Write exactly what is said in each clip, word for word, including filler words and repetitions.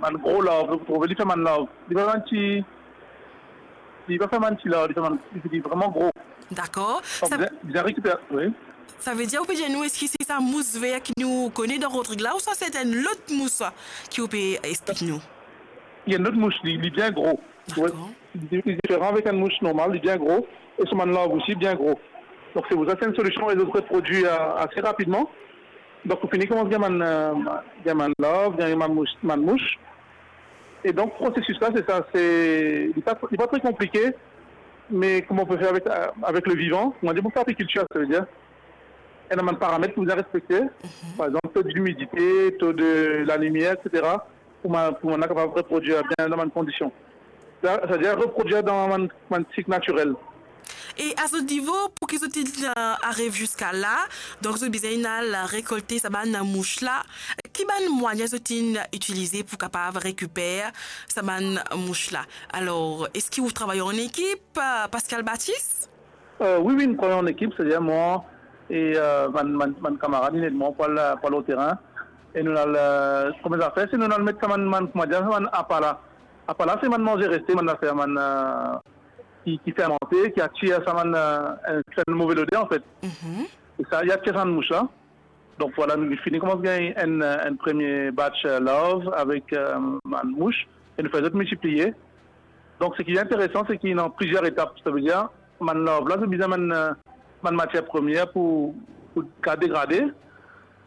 bann gro larv, ou trouve, li fer bann larv. Li pa bann ti, li pa fer bann ti larv, li fer bann, li, li vreman gro. Dakor. Donk, sa, bizin, bizin rekiper, wi. Savedir, ou pe dir nou, eski se sa mous ver ki nou kone dan Rodrig la, ouswa se enn lot mous ki ou pe explik nou? Li enn lot mous, li, li bien gro. Dakor. Li, li diferan avek enn mous normal, li bien gro, e so bann larv osi bien gro. Donk, se pou sa, se enn solision, e zot reprodwi, euh, ase rapidman. Donk, ou fini koumans gagn bann, euh, gagn bann larv, gagn bann mous, bann mous. E donk, prosesis la, se sa, se, li pa, li pa tre konplike, me kouma ou pe fer avek, euh, avek le vivan, kouma dir, pou fer apikiltir, savedir, ena bann paramet pou bizin respekte, par exanp, to dimidite, to de lalimier, et cetera, pou bann, pou bann la kapav reprodwir bien dan bann kondision. Sa, savedir reprodwir dan bann, bann sik natirel. E a zot nivo, pou ki zot inn, euh, ariv ziska la, donk zot bizin al rekolte sa bann mous la, ki bann mwayin zot inn itilize pou kapav rekiper sa bann mous la? Alor, eski ou travay an ekip, euh, Pascal Baptiste? Euh, wi, wi, nou travay an ekip, savedir mwa e, euh, bann, bann, bann kamarad, inn ed mwa pou al, pou al o terin. E nou al, euh, premie zafer, se nou al met sa bann, bann, kouma dir, sa bann apa la. Apa la, se bann manze reste, bann zafer, bann, euh, ki, ki fermante, ki atir sa bann, euh, enn, enn move loder, anfet. Mhm. E sa, li atir sa bann mous la. Donk, vwala, nou fini koumans gagn enn, enn premie batch, euh, larv avek, euh, bann mous, e nou fer zot miltipliye. Donk, seki interesan, se ki ena plizier etap. Savedir, bann larv la, zot bizin bann, euh, bann matier premie pou, pou kapav degrade.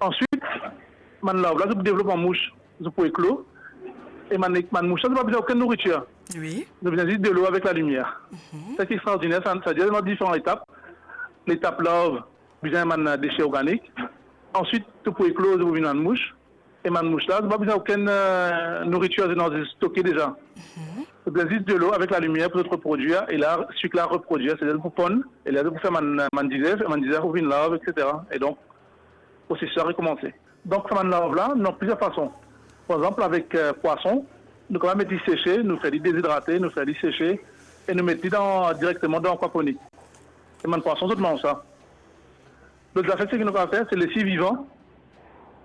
Answit, bann larv la, zot pou devlop an mous, zot pou eklo. E bann, bann mous la, zot pa bizin okenn nouritir. Wi. Zot bizin zis delo avek lalimier. Mhm. Sa ki extraordiner, sa, savedir, ena diferan etap. Letap larv, bizin bann dese organik. Answit, to pou eklo, to pou vinn bann mous. E bann mous la, zot pa bizin okenn, euh, nouritir, zot ena stoke deza. Mhm. Zot bizin zis delo avek lalimier pou zot reprodwir, e la, sik la reprodwir, savedir pou ponn, e la, zot pou fer bann, bann dizef, e bann dizef pou vinn larv, et cetera. E donk, prosesis la rekoumanse. Donk, sa bann larv la, nou ena plizier fason. Par exanp, avek, euh, pwason, nou kapav met li sese, nou fer li dezidrate, nou fer li sese, e nou met li dan, direkteman dan akwaponik. E bann pwason, zot manz sa. Lot zafer, seki nou kapav fer, se les li vivan.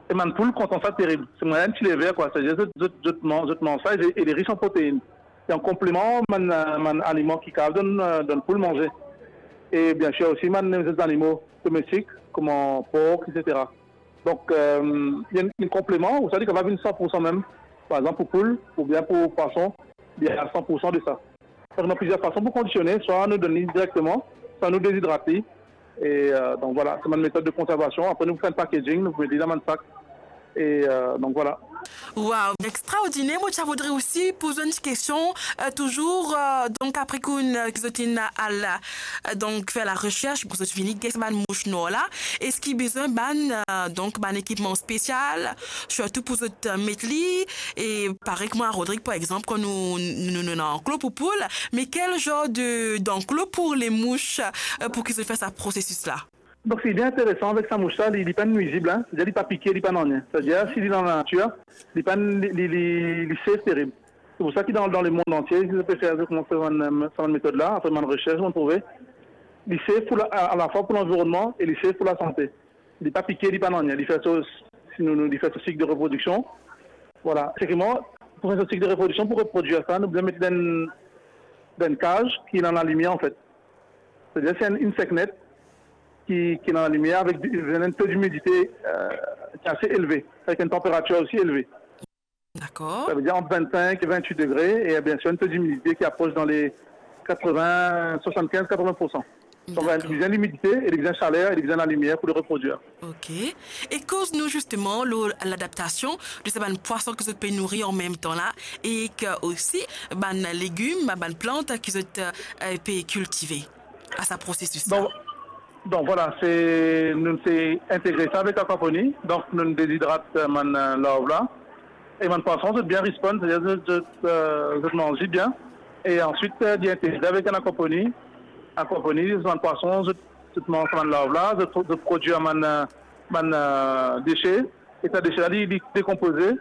E bann poul kontan sa terib. Se mwayin ti lever, kwa. Savedir zot, zot, zot manz, zot manz sa, e, e li ris an protein. E an konpleman, bann, bann aliman ki kapav donn, euh, donn poul manze. E biensir osi, bann, bann zanimo domestik, kouma pork, et cetera. Donk, euh, li enn, enn konpleman, ou sa li kapav vinn san pou san mem. Par exanp, pou poul, oubien pou pwason, li a san pou san de sa. Donk, ena plizier fason pou kondisione, swa nou donn li direkteman, swa nou dezidrat li. E, euh, donk, vwala, se bann metod de konservasion. Apre, nou pou fer enn packaging, nou pou met li dan bann sak. E, euh, donk, vwala. Waw, extraordiner. Mo ti a voudre osi poz enn ti kestion, euh, touzour, euh, donk, apre ki, euh, ki zot inn al, euh, donk, fer laresers pou zot vini gagn sa bann mous nwar la, eski bizin bann, euh, donk, bann ekipman spesial, sirtou pou zot, euh, met li, e parey kouma Rodrig, par exanp, kan nou, nou, nou, nou ena anklo pou poul, me kel zar de, d'anklo pou les mouches, euh, pou ki zot fer sa prosesis la? Donk, se bien interesan avek sa mous la, li, li pa nwizib, hein. Savedir, li pa pike, li pa nanye. Savedir, si li dan lanatir, li pa, li, li, li, li safe terib. Se pou sa ki dan, dan lemond antie, zot pe fer, zot koumans fer bann, euh, sa bann metod la, apre bann resers, zot trouve. Li safe pou la, a, alafwa pou lanvironnman e li safe pou lasante. Li pa pike, li pa nanye. Li fer so, si nou, nou, li fer so sik de reprodiksion. Vwala. Seki mwa, pou fer so sik de reprodiksion, pou reprodwir sa, nou bizin met dan, dan enn kaz ki ena lalimier, anfet. Savedir, se enn, enn seknet ki, ki ena lalimier avek di-, enn to dimidite, euh, ki ase elve, avek enn tanperatir osi elve. Dakor. Savedir ant vennsenk e vennwit degre, e biensir, enn to dimidite ki apros dan le katreven, swasannkinz, katreven pou san. Donk, li bizin limidite, e li bizin saler, e li bizin lalimier pou li reprodwir. Ok. E koz nou zisteman lor ladaptasion de sa bann pwason ki zot pe nouri an mem tan la, e ki osi bann legim, bann plant ki zot, euh, pe kiltive a sa prosesis la. Donk, donk, vwala, se, nou ti integre sa avek akwaponi. Donk, nou dezidrat, euh, bann, euh, larv la. E bann pwason, zot bien respond, savedir zot, zot, euh, zot manz li bien. E answit, euh, li integre avek enn akwaponi. Akwaponi, bann pwason, zot, zot manz bann larv la, zot, zot prodwir bann, euh, bann, euh, dese. E sa dese la, li, li dekonpoze.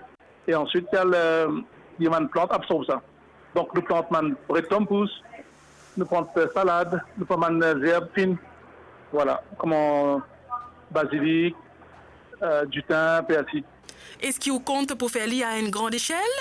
E answit, li al, euh, li, bann plant absorb sa. Donk, nou plant bann bredtonm pous, nou plant, euh, salad, nou plant bann, euh, zerb fin. Vwala, kouma bazilik, euh, ditin, persi. Eski ou kont pou fer li a enn gran echel?